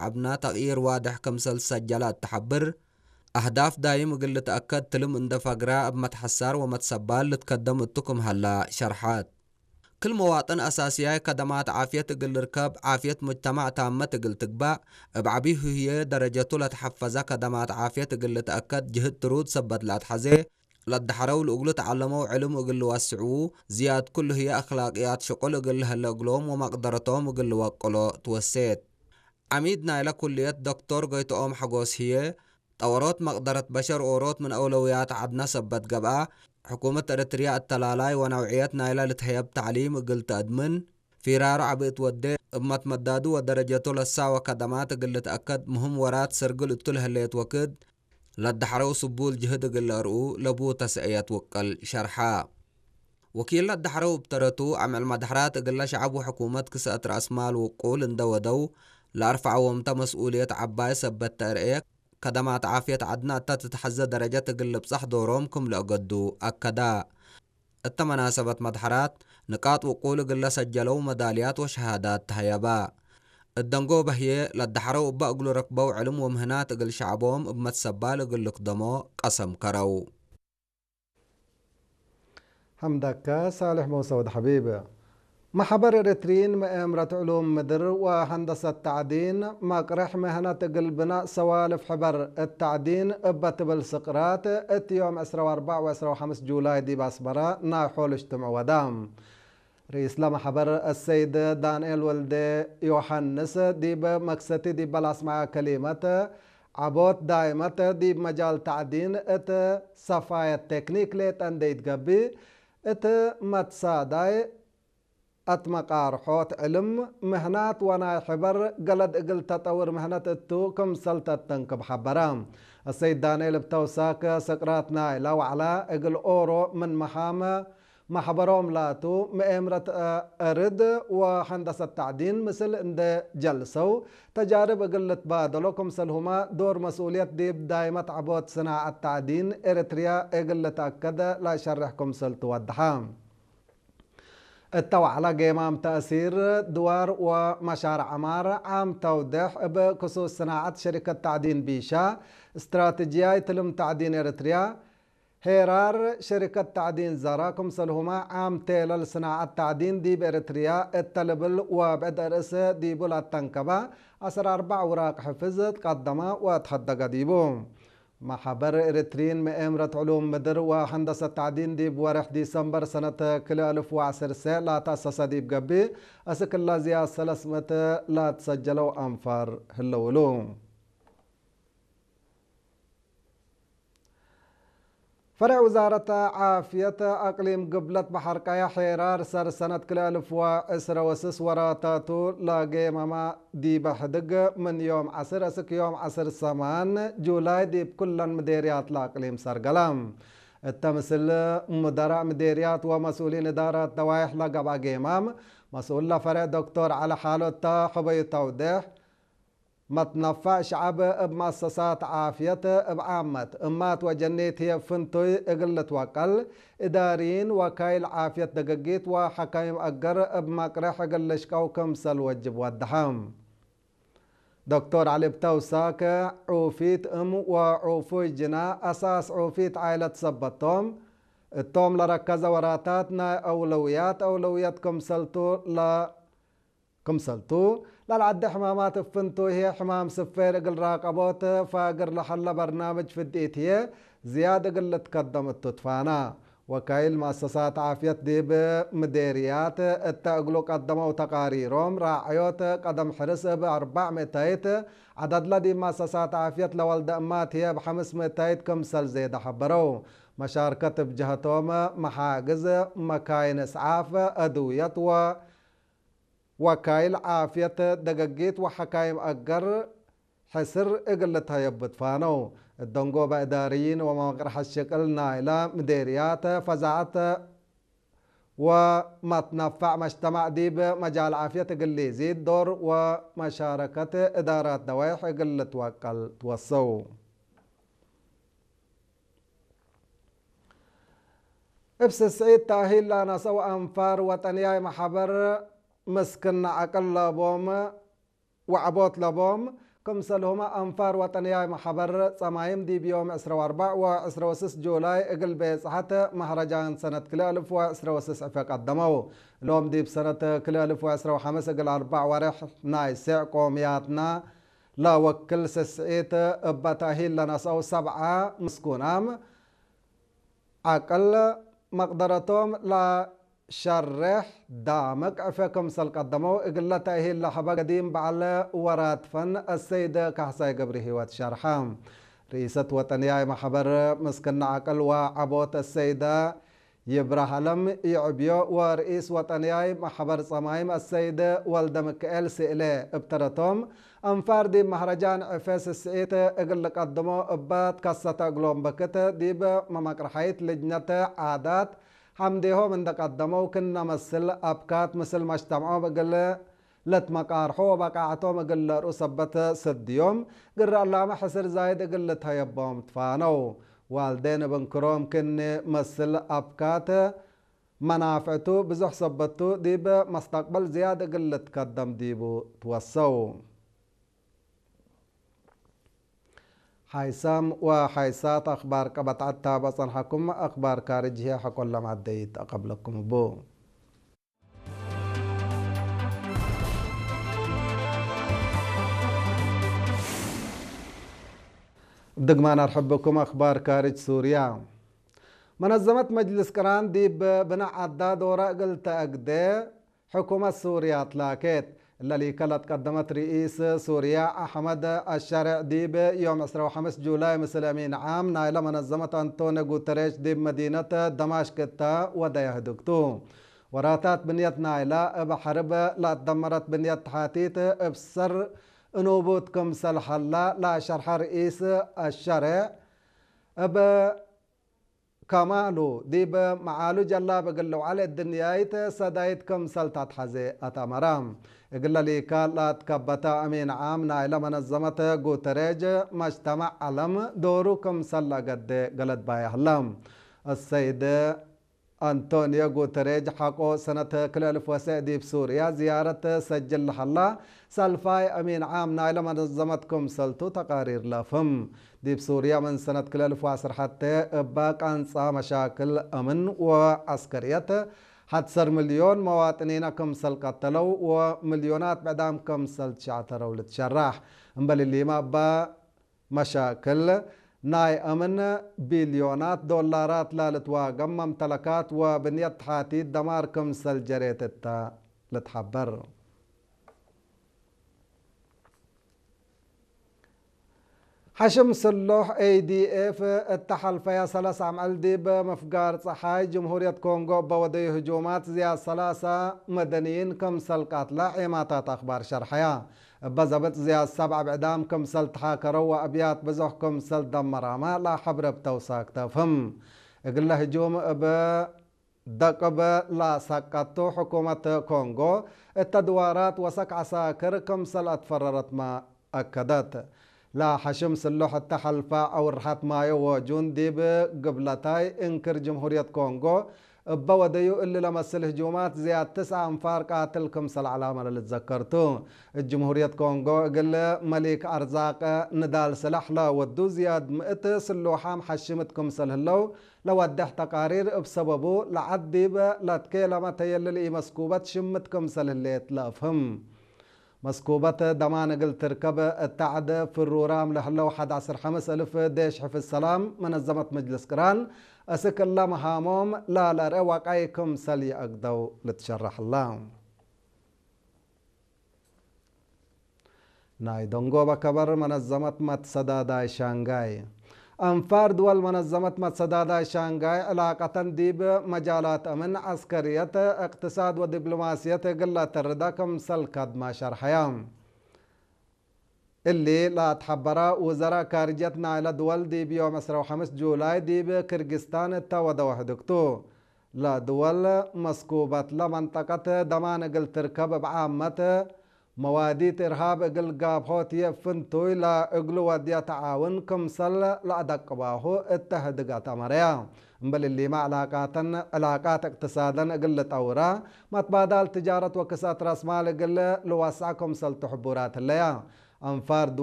ዓብና ተቕይር ዋድሕ ክምሰል ዝሰጀላ እትሓብር፣ ኣህዳፍ ዳይም እግል ልትኣከድ ትልም እንደ ፈግራ እብ መትሐሳር ወመትሰባል ልትከደም እቱ ክም ሀላ ሸርሐት። ክል መዋጥን ኣሳስያይ ከደማት ዓፍየት እግል ልርከብ፣ ዓፍየት ሙጅተማዕ ታመት እግል ትግባእ፣ እብ ዐቢ ህዬ ደረጀቱ ለትሐፈዘ ከደማት ዓፍየት እግል ልትኣከድ ጅህድ ትሩድ ሰበት ለአትሐዜ፣ ለደሐረው ልእግሉ ተዐለመው ዕልም እግል ልወስዕዉ፣ ዝያድ ኩሉ ህዬ አክላቅያት ሽቁል እግል ለሀለ እግሎም ወመቅደረቶም እግል ልወቅሎ ትወሴት። ዐሚድ ናይለ ኩልየት ዶክቶር ጎይትኦም ሐጎስ ህዬ፣ ጠወሮት መቅደረት በሸር ኦሮት ምን አውለውያት ዐድነ ሰበት ገብአ፣ ሕኩመት ኤረትርያ እተላላይ ወነውዕየት ናይለ ልትሀየብ ተዕሊም እግል ተአድምን፣ ፊራሩ ዐቢ እት ወዴ፣ እብ መትመዳዱ ወደረጀቱ ለሳወ ከደማት እግል ልትአከድ፣ ምህም ወራት ሰርግል እቱ ለህሌት ወክድ፣ ለደሐረው ስቡል ጅህድ እግል ለአርኡ ለቡ ተሰእየት ውቅል ሸርሐ። ወኪል ለደሐረው እብ ተረቱ፣ አምዕል መድሐራት እግለ ሸዐብ ወሕኩመት ክሰአት ረአስማል ውቁል እንደ ወደው፣ ለአርፈዐዎምተ መስኡልየት ዐባይ ሰበት ተአርኤ፣ ከደማት ዓፍየት ዐድነ እተ ትትሐዘ ደረጀት እግል ልብጸሕ ዶሮም ክም ለአገዱ አከዳ። እተ መናሰበት መድሐራት፣ ንቃጥ ውቁል እግል ለሰጀለው መዳልያት ወሸሃዳት ተሀየባ። እት ደንጎበ ህዬ፣ ለደሐረው እበ እግሉ ረክበው ዕልም ወምህናት እግል ሸዐቦም እብ መትሰባል እግል ልክደሞ ቀሰም ከረው። ሐምደከ ሳልሕ መውሰውድ ሐቢብ። መሕበር ኤረትርዪን መኤምረት ዕሉም ምድር ወሀንደሰት ተዕዲን መቅርሕ ምህነት እግል ብናእ ሰዋልፍ ሕበር እት ተዕዲን እበ ትብል ስቅራት እት ዮም ዕስራ ወአርባዕ ወዕስራ ወሐምስ ጁላይ ዲብ አስመራ ናይ ሖል እጅትምዕ ወዳ። ርኢስ ለመሕበር አሰይድ ዳንኤል ወልደ ዮሐንስ ዲብ መክሰቲ ዲበ ለአስመዐ ከሊመት፣ ዐቦት ዳይመት ዲብ መጃል ተዕዲን እት ሰፋየት ቴክኒክ ሌጠ እንዴ ኢትገብእ፣ እት መትሳዳይ አትመቃርሖት ዕልም፣ ምህናት ወናይ ሕበር ገለድ እግል ተጠውር ምህነት እቱ ክምሰል ተተንክብ ሐበረ። አሰይድ ዳንኤል እብ ተውሳክ ስቅራት ናይለ ወዕላ እግል ኦሮ ምን መሃም መሕበሮም ላቱ መኤምረት እርድ ወሀንደሰት ተዕዲን ምስል እንደ ጀልሰው ተጃርብ እግል ልትባደሎ ክምሰልሁመ ዶር መስኡልየት ዲብ ዳይመት ዐቦት ስናዐት ተዕዲን ኤረትርያ እግል ልትአከድ ለሸርሕ ክምሰል ትወድሐ። እተ ወዕላ ጌማም ተእሲር ድዋር ወመሻርዕ ዐማር ዓም ተውድሕ እብ ክሱስ ስናዐት ሸሪከት ተዕዲን ቢሻ፣ እስትራትጅያይ ትልም ተዕዲን ኤረትርያ፣ ሄራር ሸሪከት ተዕዲን ዘራ ክምሰልሁመ ዓም ቴለል ስናዐት ተዕዲን ዲብ ኤረትርያ እተ ልብል ወብዕድ አርእስ ዲቡ ለአተንከበ ዐስር አርባዕ ውራቅ ሕፍዝ ትቀደመ ወትሐደገ ዲቡ። መሕበር ኤረትርዪን መኤምረት ዕሉም ምድር ወሀንደሰት ተዕዲን ዲብ ወርሕ ዲሰምበር ሰነት ክልኤ አልፍ ወዐሰርተ ለተአሰሰ ዲብ ገብእ፣ አስክ እለ ዝያድ ሰለስ ምእት ለትሰጀለው አንፋር ህለው እሉ። ፈረዕ ውዛረት ዓፍየት አቅሊም ግብለት በሐር ቀያሕ ሄራር ሰር ሰነት ክልኤ አልፍ ወዕስረ ወስስ ወራታቱ ለጌመማ ዲበ ሕድግ ምን ዮም ዐስር እስክ ዮም ዐስር ሰማን ጁላይ ዲብ ኩለን ምዴርያት ለአቅሊም ሰርገለ። እተ ምስል ሙደራእ ምዴርያት ወመስኡሊን እዳራት ደዋይሕ ለገብአ ጌማም፣ መስኡል ለፈሬዕ ዶክቶር ዐሊ ሓሎ እተ ሑበዩ ተውዴሕ፣ መትነፋዕ ሸዐብ እብ መአሰሳት ዓፍየት እብ ዓመት እማት ወጀኒት ህዬ ፍንቱይ እግል ልትወቀል፣ እዳርይን ወካይል ዓፍየት ደገጊት ወሐካይም አገር እብ መቅርሕ እግል ልሽቀው ክምሰል ወጅብ ወደሐ። ዶክቶር ዐሊ እብ ተውሳክ፣ ዑፊት እም ወዑፉይ ጅና አሳስ ዑፊት ዓይለት ሰበቶም፣ እቶም ለረከዘ ወራታት ናይ አውለውያት አውለውየት ክምሰልቱ ለ-፣ ክምሰልቱ፣ ለልዐደ ሕማማት እብ ፍንቱ ህዬ ሕማም ስፌር እግል ራቀቦት ፋግር ለሀለ በርናምጅ ፍድኢት ህዬ ዝያድ እግል ልትከደም እቱ ትፋና። ወካይል መአሰሳት ዓፍየት ዲብ ምዴርያት እተ እግሉ ቀደመው ተቃሪሮም፣ ራዐዮት ቀደም ሕርስ እብ አርባዕ ምእተይት፣ ዐደድለ ዲብ መአሰሳት ዓፍየት ለወልደ እማት ህዬ እብ ሐምስ ምእተይት ክምሰል ዜደ ሐበረው። መሻርከት እብ ጀሀቶም መሓግዝ፣ መካይን እስዓፍ፣ አድውየት ወ ወካይል ዓፍየት ደገጊት ወሐካይም አገር ሕስር እግል ልትሀየብ ትፋነው። እት ደንጎበ እዳርይን ወመቅርሐት ሽቅል ናይለ ምዴርያት ፈዛዐት ወመትነፋዕ መጅተማዕ ዲብ መጃል ዓፍየት እግል ሊዚድ ዶር ወመሻረከት እዳራት ደዋይሕ እግል ልትወቀል ትወሰው። እብ ስስዒት ተእሂል ለአነሰው አንፋር ወጠንያይ መሐበር ምስክነ ዐቅል ለቦም ወዐቦት ለቦም ክምሰልሁመ አንፋር ወጠንያይ ማሕበር ጸማይም ዲብ ዮም ዕስራ ወአርባዕ ወዕስራ ወስስ ጁላይ እግል ቤጽሐት መህረጃን ሰነት ክልኤ እልፍ ወዕስራ ወስስ ዕፈ ቀደመው። እሎም ዲብ ሰነት ክልኤ እልፍ ወዕስራ ወሐምስ እግል አርባዕ ወርሕ ናይ ሴዕ ቆምያትና ለወክል ስስዒት እበ ተእሂል ለነስአው ሰብዓ ምስኩናም ዐቅል መቅደረቶም ለሸሬሕ ዳምቅ ዕፌ ክምሰል ቀደመው፣ እግለ ተእሂል ለሀበ ገዲም በዐል ወራድ ፈን አሰይድ ካሕሳይ ገብረሂወት ሸርሐ። ርኢሰት ወጠንያይ ማሕበር ምስክነ ዐቅል ወዐቦት አሰይደ ይብረሃለም ይዕብዮ ወርኢስ ወጠንያይ ማሕበር ጸማይም አሰይድ ወልደምክኤል ስእሌ እብ ተረቶም፣ አንፋር ዲብ መህረጃን ዕፌ ስስዒት እግል ልቀድሞ እበ ትከሰተ እግሎም በክት፣ ዲብ መመቅርሐይት ልጅነት ዓዳት ሐምዴሆም እንደ ቀደመው፣ ክነ መስል አብካት ምስል መጅተምዖም እግል ለትመቃርሖ ወበቃዕቶም እግል ለርኡ ሰበት ሰድዮም፣ ግረ እላመ ሕስር ዛይድ እግል ልትሀየቦም ትፋነው። ዋልዴን እብ እንክሮም ክኒ መስል አብካት መናፍዕቱ ብዙሕ ሰበቱ ዲብ መስተቅበል ዝያድ እግል ልትከደም ዲቡ ትወሰው። ሓይሳም ወሓይሳት አኽባር ቀበት ዐታ በጸንሐኩም አኽባር ካርጅ ህየ ሐቆ ለማደይት አቀብለኩም እቡ። ድግማን አርሕብኩም አኽባር ካርጅ ሱርያ። መነዘመት መጅልስ ቅራን ዲብ ብናዕ ዐዳ ዶረ እግል ተአግደ ሕኩመት ሱርያ ትላኬት። እለ ሊከ ለትቀደመት ርኢስ ሱርያ አሕመድ አሸርዕ ዲብ ዮም ዕስራ ወሐምስ ጁላይ ምስል አሚን ዓም ናይለ መነዘመት አንቶኒ ጉተሬሽ ዲብ መዲነት ደማሽቅ እተ ወደየ ህድግቱ። ወራታት ብንየት ናይላ እብ ሐርብ ለአትደመረት ብንየት ተሓቲት እብ ሰር እኑቡት ክምሰል ሀላ ለአሸርሐ ርኢስ አሸርዕ እብ ከማሉ ዲብ መዓሉ ጀላብ እግል ልውዓል እድንያይት ሰዳይት ክምሰል ተትሐዜ አትአመረ። እግለ ሊካ ለአትከበተ አሚን ዓም ናይለ መነዘመት ጉተሬጅ መጅተመዕ ዐለም ዶሩ ክምሰል ለአገዴ ገለድ ባየ ህለ። አሰይድ አንቶንዮ ጉተሬጅ ሐቆ ሰነት ክልኤ እልፍ ወሰዕ ዲብ ሱርያ ዝያረት ሰጅል ለሀላ ሳልፋይ አሚን ዓም ናይለ መነዘመት ክምሰልቱ ተቃሪር ለአፍህም። ዲብ ሱርያ ምን ሰነት ክልኤ እልፍ ወዐስር ሐቴ እበ ቃንጻ መሻክል አምን ወዐስከርየት ሐት ዐሰር ሚልዮን መዋጥኒነ ክምሰል ቀተለው ወሚልዮናት ብዕዳም ክምሰል ትሸዕተረው ልትሸራሕ። እምበል እሊመ እበ መሻክል ናይ አምን ቢልዮናት ዶላራት ለልትዋገም መምተለካት ወብንየት ተሓቲት ደማር ክምሰል ጀሬት እተ ልትሐበር። ሐሽም ስሉሕ ኤ ዲ ኤፍ እተ ሐልፈያ ሰለስ አምዕል ዲብ ምፍጋር ጸሓይ ጅምሁርየት ኮንጎ እበ ወደዩ ህጁማት ዝያድ ሰላሳ መደንይን ክምሰል ቀትለ ዔማታት አኽባር ሸርሐያ። እበ ዘብጥ ዝያድ ሰብዓ ብዕዳም ክምሰል ተሓከረው ወአብያት ብዙሕ ክምሰል ደመራመ ለሐብረ እብ ተውሳክ ተፍህም። እግለ ህጁም እብ ደቅብ ለሰቀቱ ሕኩመት ኮንጎ እተ ድዋራት ወሰክ ዐሳክር ክምሰል አትፈረረትመ አከደት። ለሐሽም ስሉሕ እተ ሐልፈ አውርሐት ማዮ ወጁን ዲብ ግብለታይ እንክር ጅምሁርየት ኮንጎ እበ ወደዩ እሊ ለመስል ህጁማት ዝያድ ትስዐ አንፋር ቃትል ክምሰል ዐላመ ለልትዘከርቱ። እት ጅምሁርየት ኮንጎ እግል መሊክ አርዛቅ ንዳል ስላሕ ለወዱ ዝያድ ምእት ስሉሓም ሐሽምት ክምሰል ህለው ለወድሕ ተቃሪር እብ ሰበቡ ለዐድ ዲብ ለትኬለመ ተየልል ኢመስኩበት ሽምት ክምሰል ህሌት ለአፍህም። መስኩበት ደማን እግል ትርከብ እተ ዐድ ፍሩራም ለህለው ሐድ ዐስር ሐምስ እልፍ ዴሽ ሕፍዝ ሰላም መነዘመት መጅልስ ቅራን እስክ እለ መሃሞም ላለርኤ ወቃይ ክምሰል ይአግደው ልትሸረሐላ። ናይ ደንጎበ ከበር መነዘመት መትሰዳዳይ ሻንጋይ። አንፋር ድወል መነዘመት መትሰዳዳይ ሻንጋይ ዕላቀተን ዲብ መጃላት አምን፣ ዐስከርየት፣ እቅትሳድ ወዲፕሎማስየት እግል ለአተርዳ ክምሰል ከድመ ሸርሐያ። እሊ ለአትሐበረ ውዘራእ ካርጅየት ናይለ ድወል ዲብ ዮም ዕስራ ወሐምስ ጁላይ ዲብ ክርጊስታን እተ ወደወ ህድግቱ። ለድወል መስኩበትለ መንጠቀት ደማን እግል ትርከብ እብ ዓመት መዋዲት እርሃብ እግል ጋብሖት ህዬ ፍንቱይ ለእግሉ ወድየ ተዓውን ክምሰል ለአደቅባሁ እተ ህድገት አመረያ። እምበል እሊመ ዕላቃተን፣ ዕላቃት እቅትሳደን እግል ልጠውራ፣ መትባዳል ትጃረት ወክስአት ራስማል እግል ልወስዐ ክምሰልቱ ሕቡራት ህለያ። አንፋር ድወል